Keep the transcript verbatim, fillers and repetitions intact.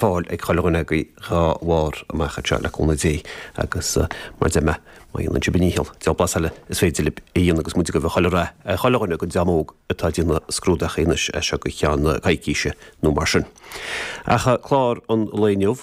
fáil ag chuile dhuine agaibh dhá bharr amach anseo le cúnamh Dé agus mar a deir mé má dhéanann sibh a ndícheall diabhal blas eile is féidir libh a dhéanamh agus muid ag gabháil chuile rath ar chuile dhuine den dream óg atá ag déanamh scrúdaithe anois as seo go ceann coicíse nó mar sin. Ach clár an lae inniu